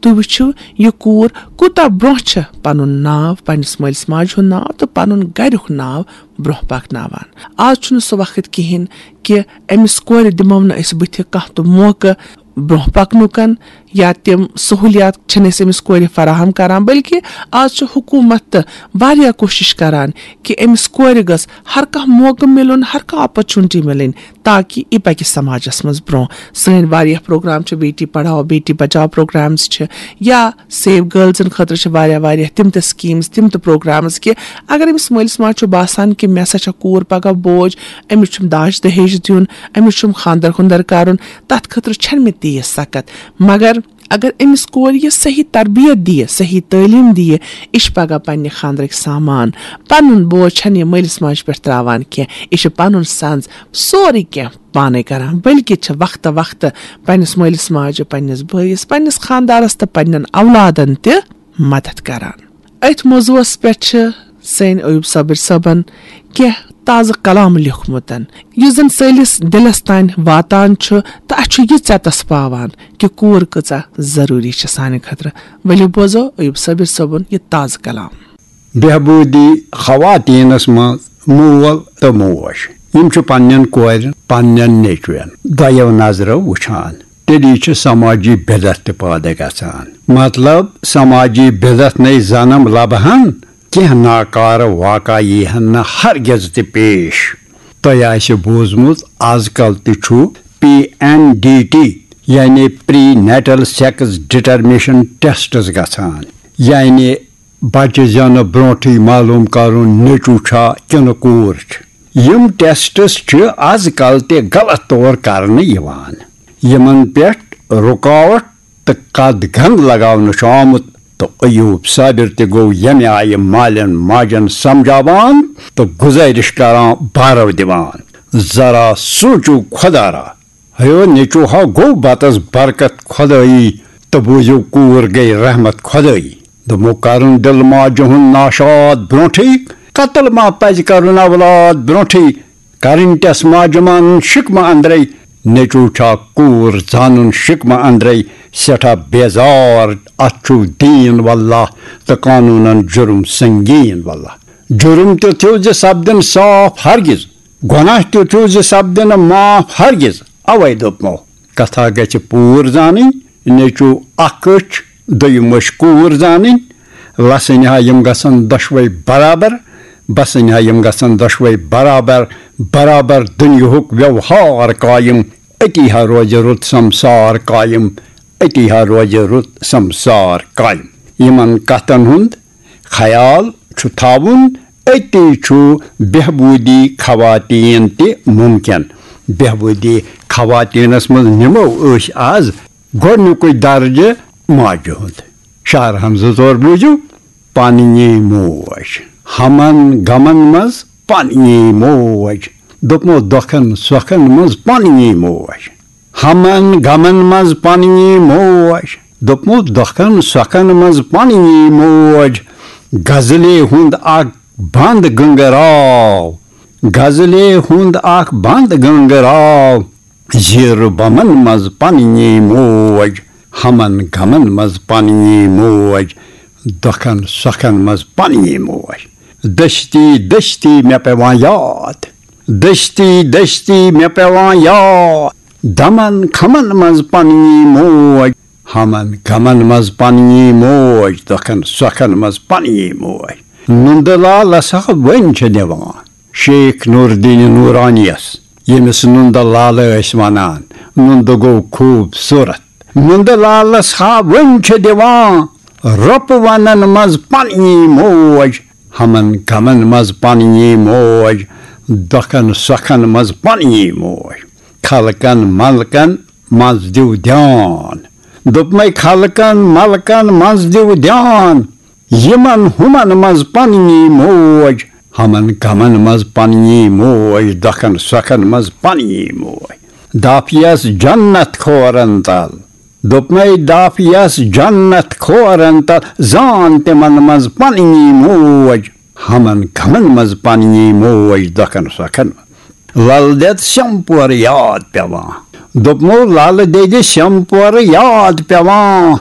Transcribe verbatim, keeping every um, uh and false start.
تُہۍ وٕچھِو، یہِ کوٗر کوٗتاہ برونٛہہ چھےٚ پنُن ناو، پننِس مٲلِس ماجہِ ہُنٛد ناو تہٕ پنُن گرُک ناو برونٛہہ پکناوان۔ آز چھُنہٕ سُہ وقت کِہیٖنۍ کہِ أمِس کورِ دِمو نہٕ أسۍ بٕتھِ کانٛہہ تہِ موقعہٕ برونٛہہ پکنُکن، یا تِم سہوٗلیات چھِنہٕ أسۍ أمِس کورِ فراہم کران، بلکہِ آز چھِ حکوٗمت تہٕ واریاہ کوٗشِش کران کہِ أمِس کورِ گٔژھ ہر کانٛہہ موقعہٕ مِلُن، ہر کانٛہہ opportunity مِلٕنۍ، تاکہِ یہِ پکہِ سماجس منٛز برونٛہہ۔ سٲنۍ واریاہ پروگرام چھِ، بیٹی پڑھاو بیٹی بچاو پروگرامز چھِ، یا سیو گرلزن خٲطرٕ چھِ واریاہ واریاہ تِم تہِ سکیٖمز، تِم تہِ پروگرامز کہِ اگر أمِس مٲلِس ماجہِ چھُ باسان کہِ مےٚ سا چھےٚ کوٗر پگاہ بوج، أمِس چھُم داج دہیج دیُن، أمِس چھُم خانٛدر خُنٛدر کرُن، تتھ خٲطرٕ چھنہٕ مےٚ تیٖژ سکت۔ مگر اگر أمِس کورِ یہِ صحیح تربیت دِیہِ، صحیح تعلیٖم دِیہِ، یہِ چھِ پگاہ پننہِ خانٛدرٕکۍ سامان، پنُن بوج چھنہٕ یہِ مٲلِس ماجہِ پٮ۪ٹھ تراوان کینٛہہ، یہِ چھِ پنُن سنٛز سورُے کینٛہہ پانے کران، بلکہِ چھِ وقتہٕ وقتہٕ پننِس مٲلِس ماجہِ، پننِس بٲیِس، پننِس خانٛدارس تہٕ پننٮ۪ن اولادن تہِ مدد کران۔ أتھۍ موضوعس پٮ۪ٹھ چھِ سٲنۍ ایوب صابر صٲبن کینٛہہ تازٕ کلام لیوٚکھمُت، یُس زن سٲنِس دِلس تام واتان چھُ تہٕ اسہِ چھُ یہِ ژٮ۪تس پاوان کہِ کوٗر کۭژاہ ضروٗری چھِ سانہِ خٲطرٕ۔ ؤلِو بوزو ایوب صابر صٲبُن یہِ تازٕ کلام۔ بہبودی خواتینس منٛز مول تہٕ موج، یِم چھِ پننٮ۪ن کورٮ۪ن، پننٮ۪ن نیٚچوٮ۪ن دۄیو نظرو وٕچھان، تیٚلی چھِ سماجی بدعت تہِ پٲدٕ گژھان۔ مطلب، سماجی بدعت نے زنم لبہن، کینٛہہ ناکارٕ واقعہ یی ہن نہٕ ہرگز تہِ پیش۔ تۄہہِ آسہِ بوٗزمُت، از کل تہِ چھُ پی این ڈی ٹی، یعنی پری نیٹل سیکس ڈٹرمیشن ٹیسٹس گژھان، یعنی بچہِ زٮ۪نہٕ برونٹھٕے معلوم کرُن نیٚچو چھا کِنہٕ کوٗر چھِ۔ یِم ٹیسٹس چھِ از کل تہِ غلط طور کرنہٕ یِوان۔ یِمن پٮ۪ٹھ رُکاوٹ تہٕ قد گند لگاونہٕ چھُ آمُت، تہٕ ایوب صابر تہِ گوٚو ییٚمہِ آیہِ مالٮ۪ن ماجن سمجھاوان تہٕ گُزٲرِش کران، بارو دِوان، ذرا سوٗنچِو خۄدا را، ہیو نیٚچو ہا گوٚو بتس برکت خۄدٲیی، تہٕ بوٗزِو کوٗر گٔے رحمت خۄدٲیی۔ دوٚپمو، کرُن دِل ماجہِ ہُنٛد ناشاد برونٹھٕے، قتل ما پزِ کرُن اولاد برونٹھٕے، کرٕنۍ ٹٮ۪س ماجہِ مانُن شِکمہٕ اندرے، نیٚچو چھا کوٗر زانُن شِکمہٕ اندرے، سٮ۪ٹھاہ بیزار اتھ چھُ دیٖن واللہ، تہٕ قانوٗنن جُرم سنگیٖن واللہ۔ جُرم تیُتھ ہیوٗ زِ سپدِ نہٕ صاف ہرگز، گۄناہ تیُتھ ہیوٗ زِ سپدِ نہٕ معاف ہرگز۔ اوے دوٚپمو، کتھا گژھِ پوٗر زانٕنۍ، نیٚچو اکھ أچھ، دوٚیِم أچھ کوٗر زانٕنۍ۔ لسٕنۍ ہا یِم گژھن دۄشوے برابر، بسٕنۍ ہا یِم گژھن دۄشوے برابر، برابر دُنیاہُک ویوہار قایم، أتی ہا روزِ رُت سمسار قایم، أتی ہا روزِ رُت سمسار قایم۔ یِمن کتھن ہُنٛد خیال چھُ تھاوُن، أتی چھُ بہبودی خواتین تہِ ممکن۔ بہبودی خواتینس منٛز نِمو أسۍ از گۄڈنیُکُے درجہٕ ماجہِ ہُنٛد۔ شعر ہمزٕ طور بوٗزِو، پننی موج۔ ہمن غمن منٛز پننی موج۔ دوٚپمو، دۄکھن سۄکھن منٛز پننی موج۔ ہمن غمن منٛز پننی موج۔ دوٚپمو، دۄکھن سۄکھن منٛز پننی موج۔ غزلہِ ہُنٛد اکھ بند گنگراو۔ غزلہِ ہُنٛد اکھ بند گنگراو۔ زیٖرٕ بمن منٛز پننی موج۔ ہمن غمن منٛز پننی موج۔ دۄکھن سۄکھن منٛز پننی موج۔ دٔستی دٔستی مےٚ پٮ۪وان یاد۔ دٔستی دٔستی مےٚ پٮ۪وان یاد۔ دمن خمن منٛز پننی موج۔ ہمن غمن منٛز پننی موج۔ دۄکھن سۄکھن منٛز پننی موج۔ نُندٕ لالس ہا وۄنۍ چھِ دِوان شیخ نوردین نورانیس، ییٚمِس نُندٕ لالہٕ ٲسۍ ونان۔ نُندٕ گوٚو خوٗبصوٗرت۔ نُندٕ لالس ہا وۄنۍ چھِ دِوان رۄپہٕ ونن منٛز پننی موج۔ ہمن غمن منٛز پننی موج۔ دۄکھن سۄکھن منٛز پننی موج۔ خلقن ملکن منٛز دِو دیان۔ دوٚپمَے، خلقن ملکن منٛز دِو دیان۔ یِمن ہُمن منٛز پننی موج۔ ہمن غمن منٛز پننی موج۔ دۄکھن سۄکھن منٛز پننی موج۔ دافیس جنت کھورن تل۔ دوٚپمَے، دافیس جنت کھورن تل۔ زان تِمن منٛز پننی موج۔ ہمن غمن منٛز پننی موج۔ دۄکھن سۄکھن منٛز۔ لل دٮ۪د سیمپور یاد پٮ۪وان۔ دوٚپمو، لل دٮ۪دِ سیمپور یاد پٮ۪وان۔